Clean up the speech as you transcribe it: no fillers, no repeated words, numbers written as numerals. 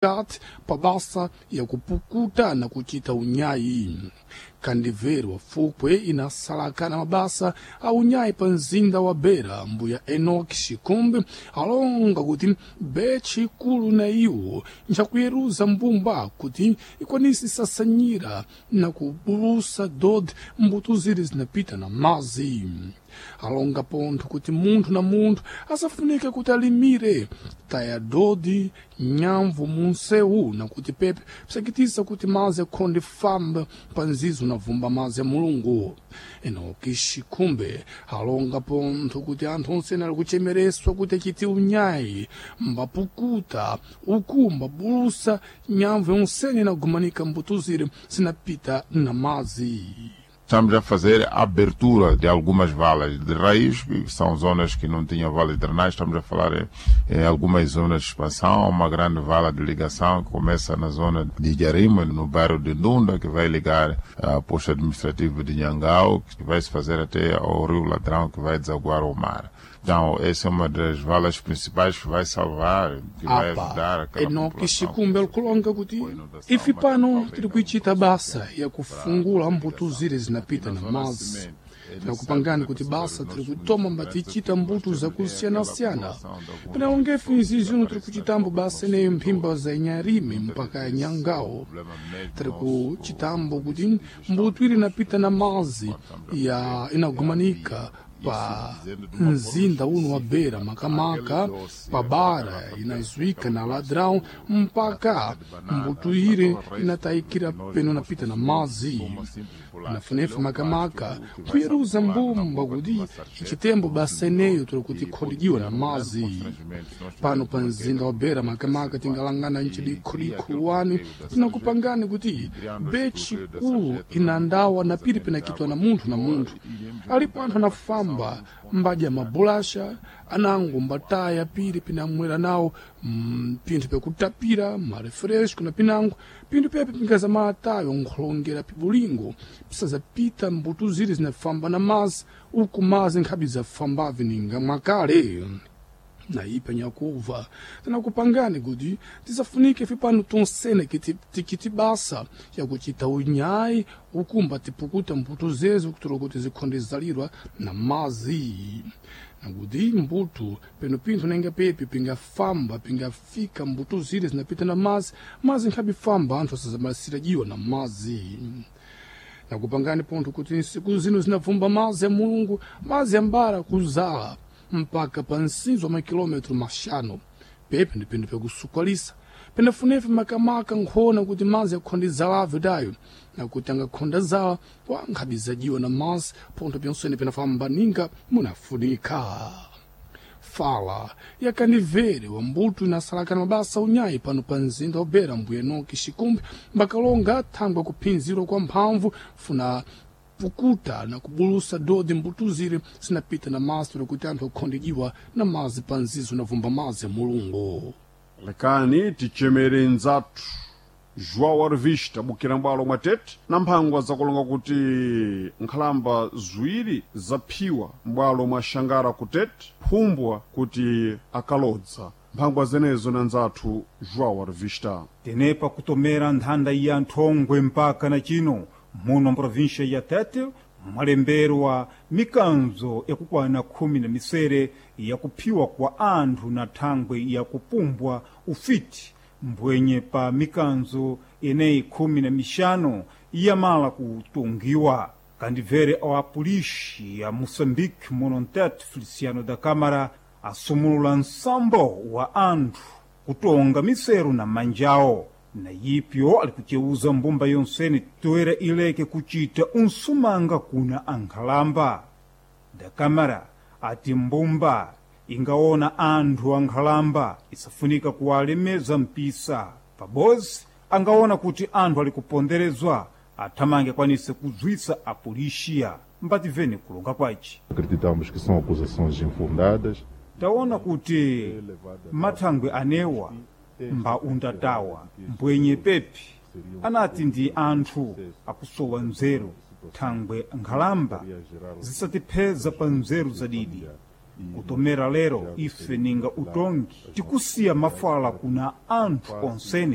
Kati pabasa ya kupukuta na kuchita unyayi. Kandivero fukwe inasalakana mabasa a unyayi pa mzinda wa Beira, mbuya Enoch Shikumbi alonga kuti betchi ikulu na iwo ncakuyeruza mbumba kuti ikwanise sasanyira na kubulusa dodi mbuto ziri zinapita na mazi. Alonga pontho kuti munthu na munthu asafunike kuti alimire taya dodi nyamvu munsewu nakuti pepe psakitisa kuti mazi akhonde famba pa nzizo navumba mazi ya Mulungu. Enoki Shikumbe alonga pontho kuti anthu onse ali kuchemereswa kuti achite unyayi mbapukuta uku mbabulusa nyamvu yonsene inagumanika mbuto ziri zinapita na mazi. Estamos a fazer a abertura de algumas valas de raiz, que são zonas que não tinham valas de drenagem. Estamos a falar em algumas zonas de expansão, uma grande vala de ligação que começa na zona de Jarima, no bairro de Ndunda, que vai ligar a posto administrativo de Nhangau, que vai se fazer até ao Rio Ladrão, que vai desaguar ao mar. Então, essa é uma das valas principais que vai salvar, que vai ajudar Apa, aquela Enoki população Shikumbe alikulonga kuti com inundação, ife mas pano também tiri na kuichita basa ya kufungula para mbuto ziri zinapita na na zona mazi. cimento. É Tinakupangani necessário kuti que basa nós tiri nossos kutoma municípios mbatichita nós mbuto temos é aquela zakusiyana-siyana. população de alguns Pinalongefe pessoas izi zino tiri desaparece nas kuchitambo basa populações ineyo mphimba todas. za Inharime Muitas mpaka ya vezes o Nhangau. problema mesmo Tiri nosso kuchitambo no kuti município de mbuto gestão iri inapita na mazi quando estamos a ya fazer é a inagumanika via. Isso pa dizendo de uma forma mzinda uno wa Beira, específica. Aquele makamaka doce, pa aquela bara garrafa PET, inazuika aquela na ladrão plástico, mpaka garrafa de banana, mbuto ire aquela raiz inatayikira que nós, peno nós napita na consumimos mazi. como uma simples bolacha. Ele Nafunefe é um plástico makamaka que vai se kuyeruza acumular na mbumba boca de kuti uma sarjeta ichitembo do basa ineyo consumidor tiri kuti e pode ikholidiwa na criar um grande mazi. constrangimento. Se nós Pano tivermos pa uma mzinda queda wa Beira muito makamaka acentuada tingalangana e cria nchidikhulikhu aquele wani bloqueio da sarjeta, tinakupangani kuti criando esse betchi bloqueio da kulu sarjeta, nós inandawa na vamos piri precisamente pinakitwa na água munthu na e munthu. iremos Alipo aumentar anthu a captação anafamba dos pontos mbadya de mabulasha anango mbataya piri pinamwera nawo pinthu pyakutapira marefresco na pinango pinthu pepe pingaza malatayo nkhulongera pibulingo pisazapita mbuto ziri zinafamba na mazi uku mazi nkhabi zafambave ninga mwakale. Naipa nyakuva tinakupangani kuti tisafunike fipano tonsene tikiti basa yakuchita unyayi ukumba tipukuta mbuto zezo kutola kuti zikhonde zalirwa na mazi nakuti mbuto peno pinthu nenga pepi pingafamba pingafika mbuto zire zinapita na mazi mazi nkhabifamba anthu asazamalisira jiwa na mazi. Nakupangani pontho kuti nsiku zino zinavumba mazi ya Mulungu, mazi ambara kuzala mpaka pa nsinzo wa makilometro maxanu. Pepe ndi pinthu pyakusukwalisa penafunefe makamaka nkhona kuti mazi akhonde zalave dayo nakuti angakhonda zala wa nkhabi zajiwa na mazi pontho pyonsene penafamba ninga munafunika. Fala yakanivere wa mbuto inasalakana mabasa unyayi pano pa mzinda wa Beira, mbuya Enoki Shikumbi mbakalonga thangwe kuphinzirwa kwa mphamvu funa pukuta na kubulusa dodi mbuto ziri zinapita na mazi tuli kuti anthu akhondijiwa na mazi pa nzizo navumba mazi ya Mulungu. Lekani tichemere nzathu João Arvista bukira mbwalo mwa tete na mphangwa zakulonga kuti nkhalamba ziwiri zaphiwa m'bwalo mwa Xangara ku tete phumbwa kuti akalodza mphangwa zenezo na nzathu João Arvista. Tenepa kutomera nthanda ya nthongwe mpaka na chino muno mprovinsha ya Tete mwalemberwa mikanzo yakukwana 16 yakuphiwa kwa anthu na thangwe yakupumbwa ufiti mbwenye pa mikanzo eneyi 15 iyamala kutungiwa. Kandibvere awa apolisi ya Moçambique muno mtete Feliciano da Câmara asumulula nsambo wa anthu kutonga miseru na manjawo na yipyo ali kuceuza mbumba yonsene toera ileke kucita unsumanga kuna ankhalamba. Da Câmara ati mbumba ingaona anthu ankhalamba isafunika kuwalemeza mpisa pabozi angaona kuti anthu ali kuponderezwa athamange akwanise kuzwisa apolisiya. Mbativene kulonga kwaci. Acreditamos que são acusações infundadas. Taona kuti mathangwe anewa mba undatawa mbwenye pepi anati ndi anthu akusowa nzeru thangwe nkhalamba zisatipheza pa nzeru zadidi. Kutomera lero ife ninga utongi tikusiya mafala kuna anthu onsene.